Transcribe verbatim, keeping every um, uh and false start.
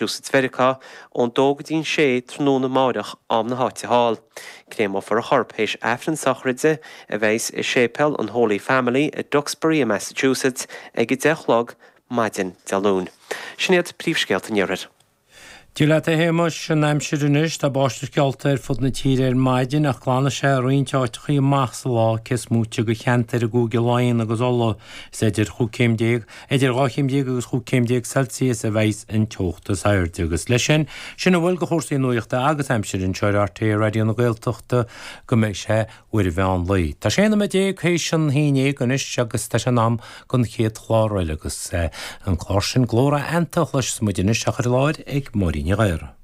Massachusetts Mheiriceá, ón dó go dtí'n sé tráthnóna amáireach am na háite thall. Créamófar a chorp théis Aifreann sochraide a bheas i Séipéal an Holy Family i Duxbury i Massachusetts ag a deich a chlog maidin Dé Luain. Sin iad príomhscéalta an Iarthair. Dia leat a Shéamais, an aimsir anois, tá báisteach geallta ar fud na tíre ar maidin ach glanfaidh sé i roinnt áiteachaí amach sa lá cé is móite de cheantair i gCúige Laighean agus Uladh. Is idir chúig céim déag, idir dhá chéim déag agus chúig céim déag Celsius a bheidhs an teocht is airde. Agus leis sin, sin a bhfuil de chúrsaí nuachta agus aimsire anseo ar RTÉ Raidió na Gaeltachta go mbeidh sé uair an mheán lae. Tá sé nóiméad déag théis an haon déag anois agus tá sé in am don chéad chlár eile agus an clár sin Glór Aitheanta a chloisfidh muid anois á chur i láthair ag Máirín Ní Ghadhra.